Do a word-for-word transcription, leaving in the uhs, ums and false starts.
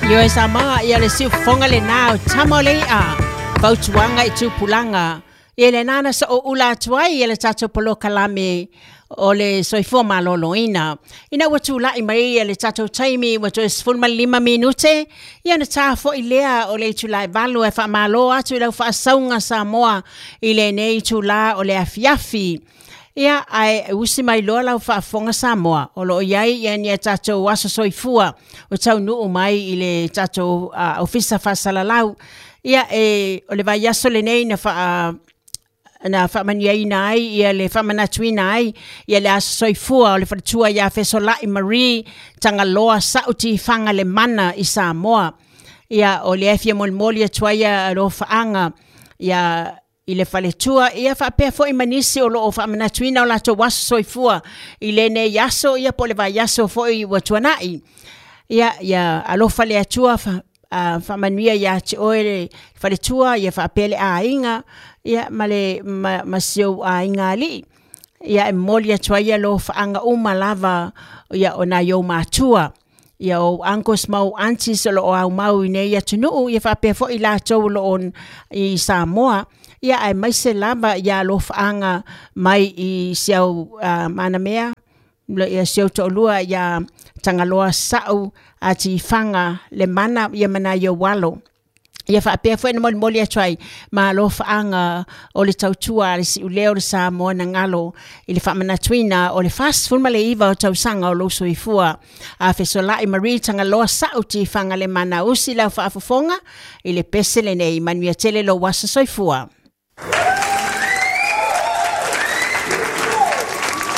Ioe Samoa, ia le siufofoga lenā o tama o le i'a, fautuaga i tupulaga. Ia lenā na so'oula atu ai ia le tatou polokalame o le soifua malōlōina. Ina ua tula'i mai ia le tatou taimi ua toe sefulu ma le lima minute, ia ona tā fo'i lea o le itulā e valu e faamālō atu i lau faasauga Samoa i lenei itulā o le afiafi. Ia ae usi mai loa lau faafofoga Samoa, o loo i ai ia ni a tatou aso soifua o taunuu mai i le tatou uh, ofisa faasalalau. Ia e o le vaiaso lenei na faa na faamanuiaina ai ia le faamanatuina ai ia le aso soifua o le faletua ia Fesola'i Marie Tagaloa Sa'u Tifaga le Mana i Samoa. Ia o lea e fia molimoli atu ai ia alofaaga ia i le faletua, ia faapea foi ma nisi o loo faamanatuina o latou aso soifua i lenei aso, ia po o le vaiaso foi ua tuana'i. Ia ia alofa le Atua fa, uh, faamanuia iā te oe le faletua, ia faapea le aiga, ia ma le ma, ma si ou aiga alii. Ia e momoli atu ai alofaaga uma lava ia o nai ou matua, ia ou uncles ma ou aunties o loo aumau i nei atunuu, ia faapea foi i latou o loo i Samoa, ia aemaise lava ia alofaaga mai i si au uh, manamea ia si ou toalua ia Tagaloa Sa'u Atifaga le Mana, ia ma nai ou alo. Ia faapea foi na molimoli atu ai ma alofaaga o le tautua a le si'ulea o le Samoa na galo i le faamanatuina o le fasefulu ma le iva o tausaga o lou soifua a Fesola'i Marie Tagaloa Sa'u Tifaga le Mana. Usi lau faafofoga i le pese lenei, manuia tele lou aso soifua.